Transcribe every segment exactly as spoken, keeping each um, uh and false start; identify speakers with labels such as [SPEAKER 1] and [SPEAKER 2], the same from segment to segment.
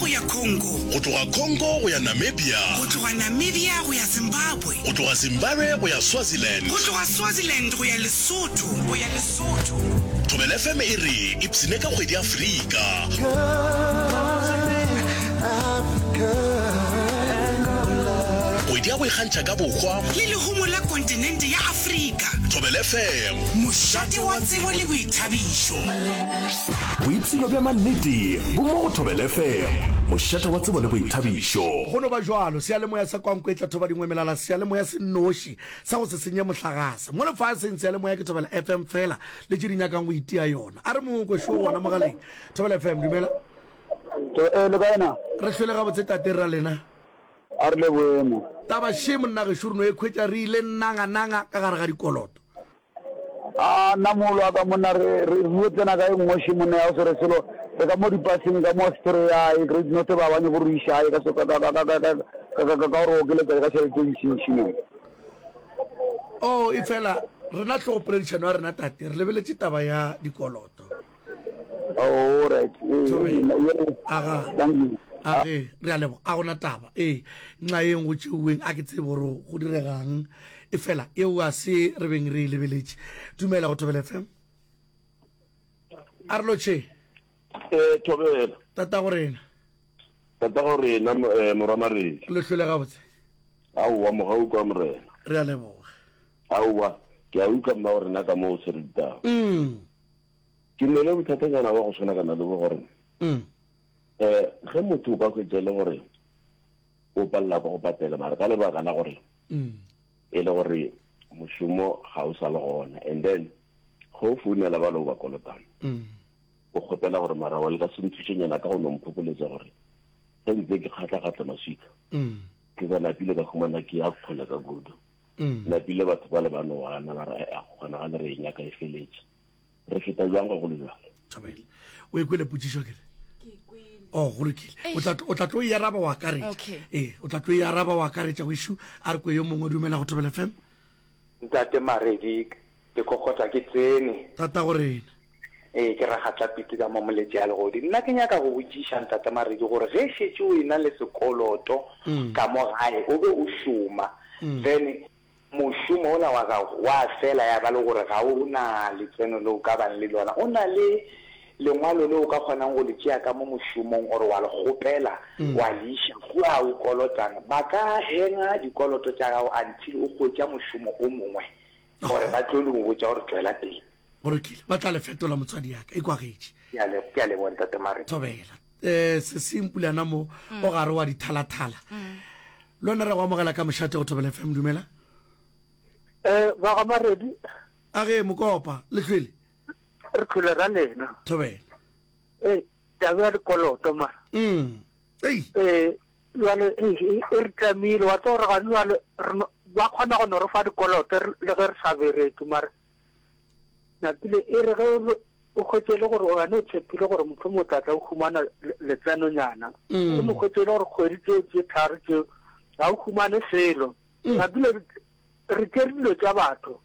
[SPEAKER 1] go ya Congo.
[SPEAKER 2] Go tloga Congo go ya Namibia.
[SPEAKER 1] Go tloga Namibia go ya Zimbabwe.
[SPEAKER 2] Go tloga Zimbabwe go ya Swaziland.
[SPEAKER 1] Go tloga Swaziland go ya Lesotho. Go ya Lesotho.
[SPEAKER 2] Thobela F M e re ipshine ka kgwedi Afrika. Kgwedi ya go ikgantšha ka bohwa.
[SPEAKER 1] Le lehumo la kontinente ya Afrika.
[SPEAKER 2] Thobela F M.
[SPEAKER 1] Mošate wa tsebo le boithabišo.
[SPEAKER 3] Boipshino bja mannete bo mo go Thobela F M. Mošate wa tsebo le boithabišo.
[SPEAKER 4] Go no ba bjalo, seyalemoya sa Kwankwetla Thobadingwe Melala, seyalemoya se nnoši sa go se senye mohlagase. Mo lefaseng seyalemoya ke Thobela F M fela le tše di nyakang go itia yona. A re mongwe kwe šo gona mogaleng. Thobela F M, dumela.
[SPEAKER 5] Eh, le kae na?
[SPEAKER 4] Re hlwele gabotse tate ra lena.
[SPEAKER 5] A re le boemo.
[SPEAKER 4] Taba še monna gešo re no e khwetša re ile nanga-nanga ka gare ga dikoloto.
[SPEAKER 5] A nna mogolo wa ka monna re re re tsena ka e nngwe še monna ya go se re selo re ka mo dipaseng ka mo Austria e Great North ba ba nyako re iša gae ka so ka ka ka ka ka ka ka ka ka gore okeletsa ka tšhelete e ntšintši mo.
[SPEAKER 4] Oh, e fela rena hlogopoledišano ya rena tate re lebeletše taba ya dikoloto.
[SPEAKER 5] Oh, right.
[SPEAKER 4] Aga. Age, re a leboga. A gona taba. Ee, nxa eng go tšeuweng a ke tsebe gore go diregang. E fela eo a se re beng re e lebeletše. Dumela go Thobela F M. A re lotšhe.
[SPEAKER 6] Eh, Thobela.
[SPEAKER 4] Tata go rena.
[SPEAKER 6] Tata go rena eh, morwa Maredi.
[SPEAKER 4] Le hlole gabotse.
[SPEAKER 6] Aowa mogau kwa morena.
[SPEAKER 4] Re a leboga.
[SPEAKER 6] Aowa, ke a utlwa mma go rena ka mo o se rutang.
[SPEAKER 4] Mm.
[SPEAKER 6] Ke ne le bothatanyana wa go tshwana kana le bo gore
[SPEAKER 4] mm.
[SPEAKER 6] eh ge motho o ka hwetša le gore o palela ka go patela mara ka lebaka la gore
[SPEAKER 4] mm.
[SPEAKER 6] e le gore mošomo ga o sa le gona and then go o founela ba le o ba kolotang
[SPEAKER 4] mm.
[SPEAKER 6] o kgopela gore mara wa le ka se nthušenyana ka go no mphokoletsa gore ge ntse ke kgatla-kgatla maswika
[SPEAKER 4] mm.
[SPEAKER 6] ke ba napile ka humana ke ya kgole ka kudu
[SPEAKER 4] mm.
[SPEAKER 6] napile batho ba le ba no gana ba re a kgonagale re e nyaka e feletse re feta jwang go le jwalo.
[SPEAKER 4] Thobela. O e kwele potšišo kere? Oh, go lokile. O tla o tla tlo e araba wa akaretša.
[SPEAKER 7] Okay.
[SPEAKER 4] Ee, o tla tlo e araba wa akaretša go a re kwe yo mongwe dumela go Thobela F M.
[SPEAKER 8] Ntate Maredi ke kokota ke tsene.
[SPEAKER 4] Tata go rena.
[SPEAKER 8] Ee, ke ragatla piti ka mo moletše ya legodi. Nna ke nyaka go botšiša ntate Maredi gore ge šetše o ena le sekoloto ka mo gae o be o šoma then mošomo ola wa gago wa fela ya ba le gore ga o na letseno le o ka bang le lona, o na le lengwalo le o ka kgonang go le tšea ka mo mošomong ore wa le kgopela wa le iša kua o kolotang, ba ka henga dikoloto tša gago until o hwetša mošomo o mongwe gore ba tlo le go botša gore tšwela pele.
[SPEAKER 4] Go lokile, ba tla le fetola motswadi ya ka e kwagetše.
[SPEAKER 8] Ke a leboga ntate Maredi.
[SPEAKER 4] Thobela. Eh, se se mpulana mo o gare wa dithalathala. Le wena re go amogela ka mošate go Thobela F M, dumela.
[SPEAKER 9] Eh, ba ga Maredi.
[SPEAKER 4] A ge mokopa le hlwele.
[SPEAKER 9] Re hlwele ra lena.
[SPEAKER 4] Thobela.
[SPEAKER 9] Eh, taba ya dikoloto mara.
[SPEAKER 4] Mm. Ei.
[SPEAKER 9] Eh, jwale, eh, e re tlamile, wa tseba gore gane jwale re no, ba kgona go no re fa dikoloto le ge re sa bereke mara. Napile e re ge o hwetše le gore wena o tshepile gore mohlomongwe o tla tla o humana letsenonyana.
[SPEAKER 4] Mm.
[SPEAKER 9] O mo hwetše le gore kgwedi tšeo tše tharo tšeo ga o humane selo.
[SPEAKER 4] Mm.
[SPEAKER 9] Napile re tšere dilo tša batho.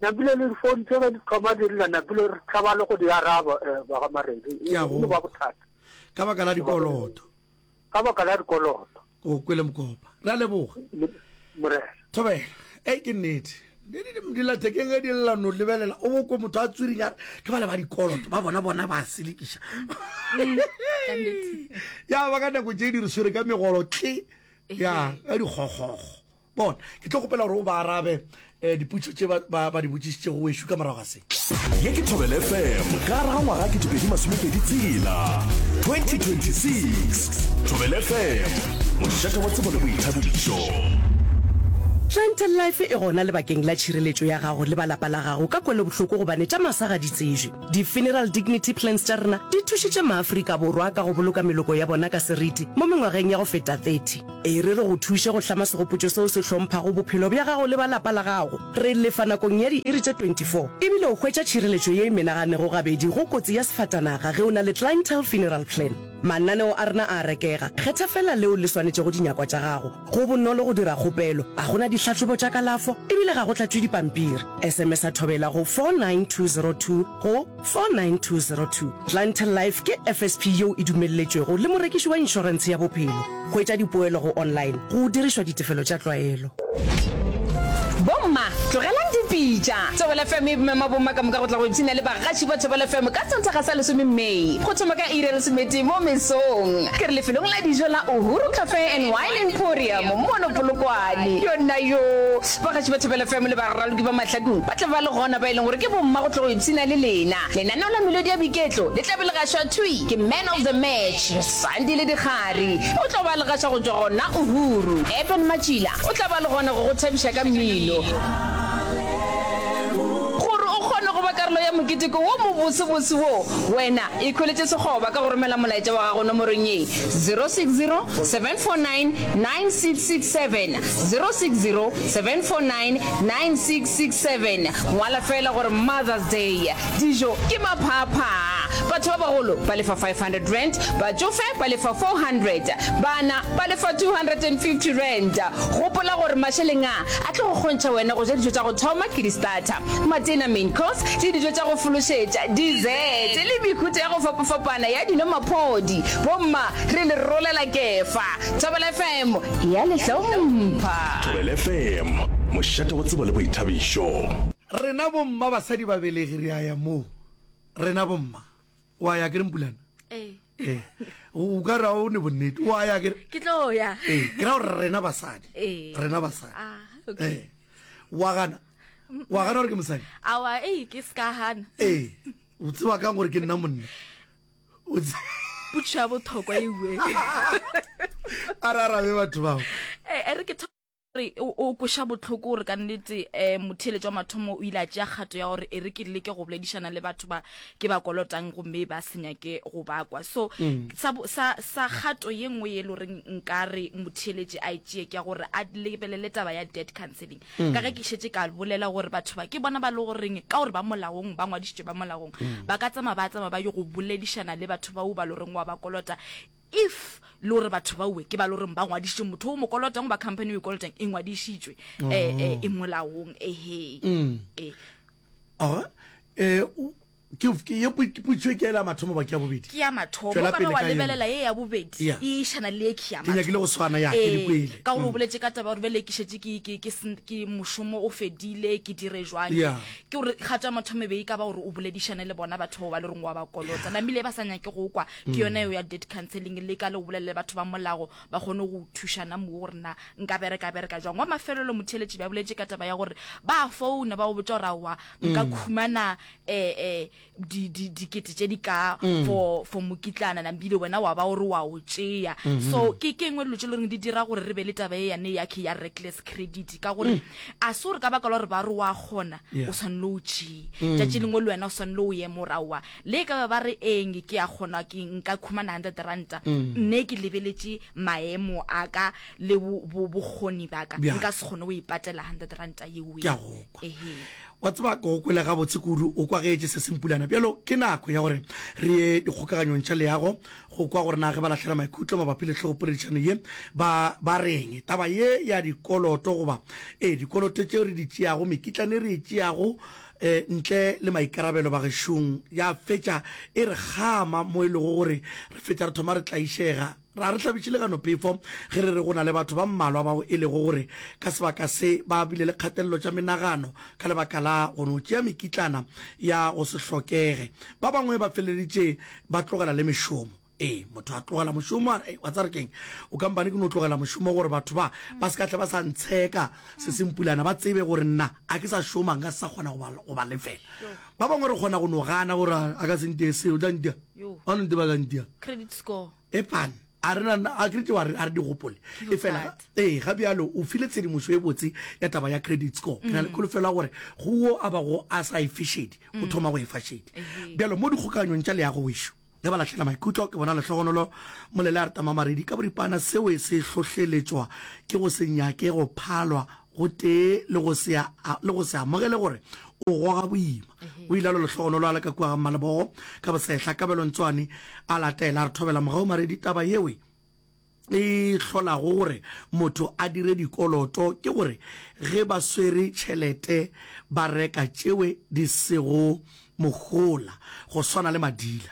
[SPEAKER 9] Napile le difounu tše ge di thoma di lla, napile re tšhaba le go di araba, eh, ba ga Maredi.
[SPEAKER 4] Ke a
[SPEAKER 9] E no ba
[SPEAKER 4] go.
[SPEAKER 9] bothata.
[SPEAKER 4] Ka baka la dikoloto.
[SPEAKER 9] Ka baka la dikoloto.
[SPEAKER 4] O kwele mokopa. Re a leboga.
[SPEAKER 9] Morena.
[SPEAKER 4] Thobela. Ei ke nnete. Dillathekeng ge di lla no lebelela o bokwe motho a tswirinya ke ba le ba dikoloto ba bona bona ba selekiša. Ya ba ka nako tše di re swere ka megolo tle ya ka dikgokgokgo. Bona ke tlo kgopela gore o ba arabe eh, dipotšišo tše ba, ba, ba di botšišitšego wešo ka morago ga se.
[SPEAKER 3] Ye ke Thobela F M ka gare ga ngwaga ketepedi masomepedi tshela twenty twenty-six. Thobela F M, mošate wa tsebo le boithabišo.
[SPEAKER 10] Clientele Life e gona lebakeng la tšhireletšo ya gago le ba lapa la gago ka kwelobohloko gobane tša masa ga di tsejwe. Di-funeral dignity plans tša rena di thušitše maAfrika Borwa ka go boloka meloko ya bona ka seriti mo mengwageng ya go feta thirty. E re re go thuše go hlama segopotšo seo se hlomphago bophelo bja gago le ba lapa la gago. Re lefa nakong ya diiri tše twenty-four ebile o hwetša tšhireletšo ye e menaganego gabedi go kotsi ya sefatanaga ge o na le Clientele Funeral Plan. Mananeo a rena a a rekega. Kgetha feela leo le swanetšego dinyakwa tša gago. Go bonolo go dira kgopelo, ga go na dihlahlobo tša kalafo e bile ga go tlatšwe dipampiri. S M S-a Thobela go four nine two zero two go four nine two zero two. Clientele Life ke F S P yeo e dumelletšwego le morekiši wa inšorentshe ya bophelo. Hwetša dipoelo go online go dirišwa ditefelo tša tlwaelo.
[SPEAKER 7] Bomma, tlogelang dipitša! Thobela F M e mema bomma ka moka go tla go ipshina le bagaši ba Thobela F M ka Sontaga sa lesome May, go thoma ka iri ya lesometee mo mesong. Ke re lefelong la dijo la Uhuru Cafe and Wine Emporium mono Polokwane. Yonna yoo! Bagaši ba Thobela F M le baraloki ba Mahlakung ba tla ba le gona ba e leng gore ke bomma go tla go ipshina le lena. Lenaneo la Melodi ya Boiketlo le tla be le gašwa thwi ke Man of the Match, Sandile Dikgari. O tlo ba le gaša go tšwa gona Uhuru. Eben Matšila o tla ba le gona go go thabiša ka mmino. Gore o kgone go ba karolo ya moketeko wo mobosebose wo, wena ikhweletše sekgoba ka go romela molaetša wa gago nomorong ye, zero six zero, seven four nine, nine six six seven, zero six zero, seven four nine, nine six six seven. Ngwala feela gore Mother's Day. Dijo ke maphaaphaa. Batho ba bagolo ba lefa five hundred rand, batšofe ba lefa four hundred, bana ba lefa two hundred and fifty rand. Gopola gore mašeleng a a tlo go kgontšha wena go ja dijo tša go thoma ke di-starter, matena, main course, le dijo tša go fološetša, dessert, le mehuta ya go fapafapana ya dino maphodi. Bomma, re le rolela kefa. Thobela F M e a le hlompha.
[SPEAKER 3] Thobela F M, mošate wa tsebo le boithabišo.
[SPEAKER 4] Rena bomma basadi babelegi re a ya moo. Rena bomma. Wa ya kere Mpulana?
[SPEAKER 11] Ee.
[SPEAKER 4] Ee. O ka re o ne bonnete. Wa ya kere?
[SPEAKER 11] Ke tlo ya.
[SPEAKER 4] Ee, ke ra gore rena basadi.
[SPEAKER 11] Ee.
[SPEAKER 4] Rena basadi.
[SPEAKER 11] Ah, okay.
[SPEAKER 4] Ee. Wa gana? Wa gana gore ke mosadi?
[SPEAKER 11] Awa, ee, ke se ka gana.
[SPEAKER 4] Ee. O tseba kang gore ke nna monna? O tse-
[SPEAKER 11] Potšišo ya bohlokwa e we.
[SPEAKER 4] A re arabe batho bao.
[SPEAKER 11] Eh, e re ke gore o o kweša bohloko gore ka nnete um motheeletši wa mathomo o ile a tšea kgato ya gore e re ke leke go boledišana le batho ba ke ba kolotang gomme ba se nyake go ba kwa. So
[SPEAKER 4] Mm.
[SPEAKER 11] sa bo-, sa, sa kgato ye nngwe ye e le goreng nka re motheeletši a e tšee ke ya gore a lebelele taba ya debt counseling.
[SPEAKER 12] Mm.
[SPEAKER 11] Ka ge ke šetše ka bolela gore batho ba ke bona ba le goreng ka gore ba molaong, ba ngwadišitšwe ba molaong,
[SPEAKER 12] Mm.
[SPEAKER 11] ba ka tsamaya ba tsamaya ba yo go boledišana le batho bao ba le goreng wa ba kolota. If le gore batho ba uwe ke ba le goreng ba ngwadišitše motho o mo kolotang goba company o e kolotang e ngwadišitšwe,
[SPEAKER 4] Oh.
[SPEAKER 11] eh, eh, e molaong, ehe.
[SPEAKER 4] Mm.
[SPEAKER 11] Eh.
[SPEAKER 4] Aga, eh, o, ke, ke, ye pu-, ke putšo ke ya mathomo ba ke ya bobedi?
[SPEAKER 11] Ke ya mathomo.
[SPEAKER 4] Tšwela
[SPEAKER 11] O ka
[SPEAKER 4] pele
[SPEAKER 11] ba wa
[SPEAKER 4] ka yona.
[SPEAKER 11] lebelela ye ya bobedi,
[SPEAKER 4] Yeah.
[SPEAKER 11] e išana le ye ke ya
[SPEAKER 4] Ke nyakile go
[SPEAKER 11] mathomo.
[SPEAKER 4] swana, ya, ke di
[SPEAKER 11] Eh,
[SPEAKER 4] kwele.
[SPEAKER 11] ka gore o
[SPEAKER 4] Mm.
[SPEAKER 11] boletše ka taba ya gore bjale ke šetše ke, ke, ke sen-, ke mošomo o fedile, ke dire jwang.
[SPEAKER 4] Yeah.
[SPEAKER 11] Ke gore kgato ya mathomo e be e ka ba gore o boledišane le bona batho bao ba le reng wa ba kolota. Namile ba sa nyake go kwa, ke
[SPEAKER 12] Mm.
[SPEAKER 11] yona eo ya debt counseling, le ka le go bolelele batho ba molago ba kgone go thušana mo gore na nka bereka bereka jwang. Wa mafelelo motheeletši ba boletše ka taba ya gore ba founa ba go botša gore aowa nka
[SPEAKER 12] Mm.
[SPEAKER 11] khumana, eh, eh, di, di, dikete tše di ka
[SPEAKER 12] Mm.
[SPEAKER 11] for, for mokitlana, nambile wena wa ba gore wa o tšea.
[SPEAKER 12] Mm-hmm.
[SPEAKER 11] So ke, ke engwe dilo tše le goreng di dira gore re be le taba e yane ya ke ya reckless credit, ka gore
[SPEAKER 12] Mm.
[SPEAKER 11] a se gore ka baka la gore ba re wa kgona,
[SPEAKER 12] Yeah.
[SPEAKER 11] o swanele o tšee.
[SPEAKER 12] Mm.
[SPEAKER 11] Tšatši lengwe le wena o swanele o ye moraoa. Le e ka ba ba re eng ke a kgona ke nka khumana hundred ranta,
[SPEAKER 12] Mm.
[SPEAKER 11] nne ke lebeletše maemo a ka le bo, bo, bokgoni ba ka,
[SPEAKER 4] Bjang.
[SPEAKER 11] nka se kgone go ipatela hundred ranta yeo.
[SPEAKER 4] Ke a go kwa.
[SPEAKER 11] Ehe.
[SPEAKER 4] Wa tseba ke go kwele gabotse kudu, o kwagetše se sempulana. Bjalo ke nako ya gore re ye dikgokaganyong tša leago go kwa gore na ge ba lahlela maikutlo mabapi le hlogopoledišano ye ba, ba reng. Taba ye ya dikoloto goba, ee, dikoloto tšeo re di tšeago, mekitlane re e tšeago, eh, ntle le maikarabelo bagešong, ya fetša e re kgama mo e lego gore re fetša re thoma re tlaišega. Ra re hlabiše le gano phefo ge re re go na le batho ba mmalwa bao e lego gore ka sebaka se ba bile le kgatelelo tša menagano ka lebaka la go no tšea mekitlana ya go se hlokege. Ba bangwe ba feleleditše ba tlogela le mešomo. Ee, motho a tlogela mošomo a re, wa tsare keng, o kampane ke no tlogela mošomo gore batho ba ba se ka tle ba sa ntsheka se sempulana, ba tsebe gore nna a ke sa šoma, nka se sa kgona go ba, go ba lefela. Ba bangwe re kgona go no gana gore a ka se ntie seo, o tla ntia.
[SPEAKER 11] Yo.
[SPEAKER 4] Ba no nte ba ka ntia.
[SPEAKER 11] Credit score.
[SPEAKER 4] E pane. A re na, a credit wa re, a re di gopole.
[SPEAKER 11] Ke
[SPEAKER 4] E fela,
[SPEAKER 11] bothata.
[SPEAKER 4] ee, ga bjalo o file tshedimošo e botse ya taba ya credit score. Ke na le
[SPEAKER 11] Mm.
[SPEAKER 4] kholofelo ya gore go wo a bago a sa e fe šedi, o
[SPEAKER 11] Mm.
[SPEAKER 4] thoma go e fa šedi.
[SPEAKER 11] Ehe.
[SPEAKER 4] Bjalo mo dikgokaganyong tša leago wešo, ge ba lahlela maikutlo, ke bona lehlogonolo Molele a re tamamaredi ka boripana seo se hlohleletšwa ke go se nyake go phalwa gotee le go se a, le go se amogele gore O goga boima. O ile a lo lehlogonolo a le ka kua ga Mmalebogo ka bosehla. Kabelo Ntswane a latela a re thobela mogau Maredi taba yewe e hlolago gore motho a dire dikoloto ke gore ge ba swere tšhelete ba reka tšewe di sego mohola go swana le madila.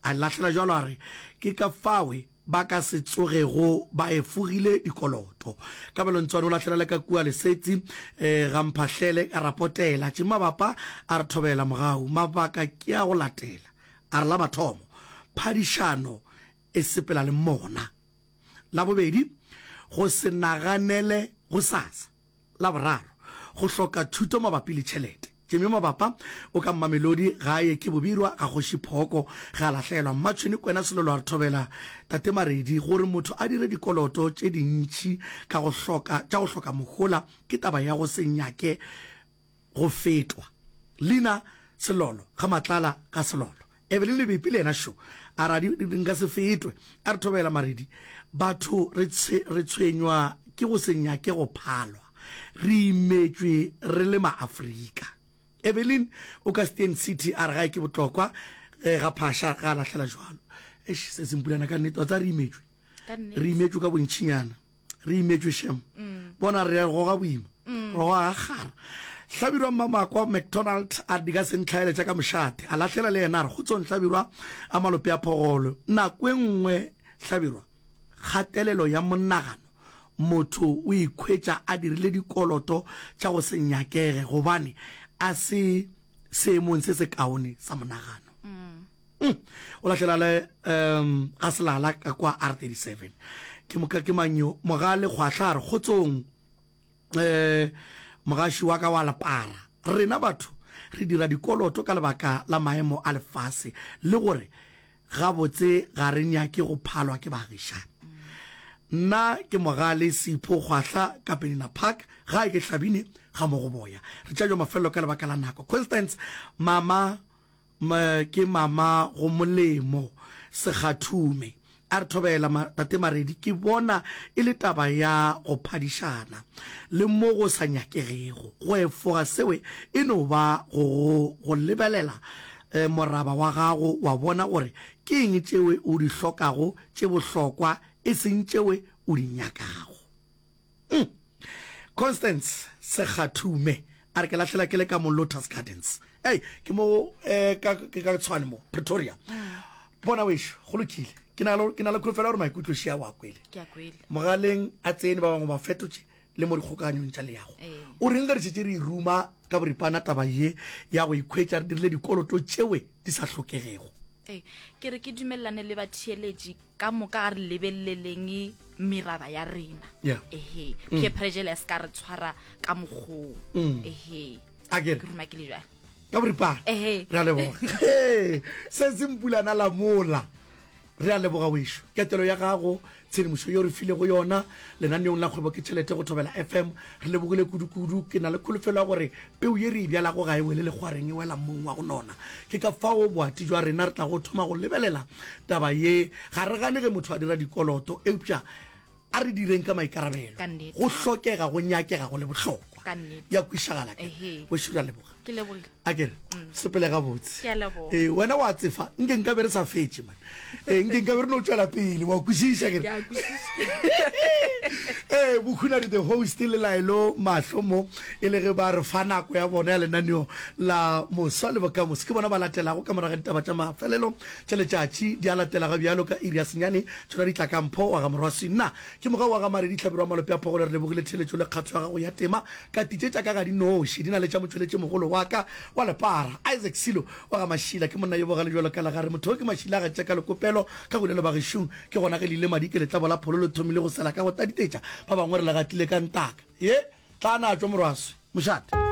[SPEAKER 4] A lahlela bjalo a re ke ka fawe ba ka se tsogego ba efogile dikoloto. Kabelo Ntswane o lahlela le ka kua Lesetsi eh, ga Mphahlele a rapotela tše mabapa a re thobela mogau. Mabaka ke a go latela. A re la mathomo, phadišano e sepela le mona. La bobedi, go se naganele gosasa. La boraro, go hloka thuto mabapi le tšhelete. Jimmy Mabapa o ka Mmamelodi gae ke Bobirwa ga Kgoši Phooko ge a lahlelwa. Mmatšhweni Kwena Selolo a re thobela Tate Maredi gore motho a dire dikoloto tše dintši ka go hloka tša go hloka mohola ke taba ya go se nyake go fetwa. Leina Selolo ga Matlala ga Selolo. Evelyn Lebepi le yena šo a re a di nka se fetwe. A re thobela Maredi batho re re tshwenywa ke go se nyake go phalwa. Re imetšwe re le Maafrika. Evelyn o ka Steyn City a re gae ke botlokwa ge ga Phasha ga a lahlela jwalo. Eish se se mpulana ka nnete wa tseba re imetšwe. Re imetšwe ka bontšinyana. Re imetšwe shem. Bona re goga boima. Re goga ga kgara. Hlabirwa Mmamakwa McDonald a re di ka se ntlhaele tša ka mošate. A lahlela le yena a re kgotsong Hlabirwa a malope a phogolo. Nako e nngwe Hlabirwa kgatelelo ya monagano motho o ikhwetša a dirile dikoloto tša go se nyakege gobane a se seemong se sekaone sa monagano. Mm. O lahlela le um ga selala ka kwa R thirty seven. Ke moka ke mang yo? Mogale Kgwahla a re kgotsong um mogaši wa ka wa lepara. Rena batho re dira dikoloto ka lebaka la maemo a lefase le gore Gabotse ga re nyake go phalwa ke baagišani. Nna ke Mogale Sipho Kgwahla ka Penina Park, gae ke Hlabine ga Mogoboya. Re tša jo mafelelo ka lebaka la nako. Constance, Mama, ke mama go molemo Sekgathume. A re thobela, Tate Maredi, ke bona e le taba ya go phadišana le mo go sa nyakegego. Go efoga seo e no ba go go lebelela moraba wa gago wa bona gore ke eng tšeo o di hlokago tše bohlokwa e seng tšeo o di nyakago. Mm. Constance Sekgathume a re ke lahlela ke le ka mo Lotus Gardens. Ei, ke mo eh, ka ke ka Tshwane mo Pretoria. Mm. Bona wešo, go lokile. Ke na le ke na le kholofelo gore maikutlo šia wa kwele.
[SPEAKER 11] Ke a kwele.
[SPEAKER 4] Mogaleng a tsene ba bangwe ba fetotše le mo dikgokaganyong tša leago. O reng ge re šetše re e ruma ka boripana taba ye ya go ikhwetša re dirile dikoloto tšewe di sa hlokegego?
[SPEAKER 11] Ee, ke re ke dumelelane le batheeletši ka moka, a re lebeleleng meraba ya rena.
[SPEAKER 4] Yeah.
[SPEAKER 11] Ehe, peer pressure ya se ka re tshwara ka mokgoo. Ehe.
[SPEAKER 4] A ke re?
[SPEAKER 11] Ke ruma ke le bjalo.
[SPEAKER 4] Ka boripana.
[SPEAKER 11] Ehe.
[SPEAKER 4] Re a leboga. Ee, se se mpulana la mola. Re a leboga wešo. Ketelo ya gago, tshedimošo yeo re filego yona lenaneong la Kgwebo ke Tšhelete go Thobela F M. Re lebogile kudu-kudu. Ke na le kholofelo ya gore peu ye re e bjalago ga e wele lekgwareng, e wela mmung wa go nona. Ke ka fao boati bja rena re tlago thoma go lebelela taba ye. Ga re gane ge motho a dira dikoloto, eupša a re direng ka maikarabelo.
[SPEAKER 11] Ka nnete.
[SPEAKER 4] Go hlokega, go nyakega, go le bohlokwa.
[SPEAKER 11] Ka nnete.
[SPEAKER 4] Ya kwišagala ke.
[SPEAKER 11] Ehe.
[SPEAKER 4] Wešo re a leboga.
[SPEAKER 11] Ke lebogile.
[SPEAKER 4] A ke re, sepele gabotse.
[SPEAKER 11] Ke a leboga.
[SPEAKER 4] Ee, wena wa tsefa, nke nka be re sa fetše man. Ee, nke nka be re no tšwela pele, wa kwešiša ke re.
[SPEAKER 11] Ke a kwešiša.
[SPEAKER 4] Ee, Bokhunadi the host le Laelo Mahlo mo e le ge ba re fa nako ya bona ya lenaneo la Moswa le Bokamoso. Ke bona ba latelago ka morago ga ditaba tša mafelelo tša letšatši di a latela ga bjalo ka iri ya senyane tšona di tla ka Mpho wa ga Morwaswi. Nna ke Mogau wa ga Maredi Hlabirwa Malope a Phogole. Re lebogile theeletšo le kgatho ya gago ya tema. Ka titše tša ka ga di noši, di na le tša motšweletšimogolo wa ka wa lepara, Isaac Silo wa ga Mašila. Ke monna yo bogale bjalo ka legare. Motho yo ke Mašila a gatša ka lekopelo ka go le lebagešong. Ke gona ge le ile madi ke letlabo la pholo le thomile go sela ka go taditetša. Ba bangwe re le gatile ka ntaka. Ye, tla na tšwa Morwaswi. Mošate.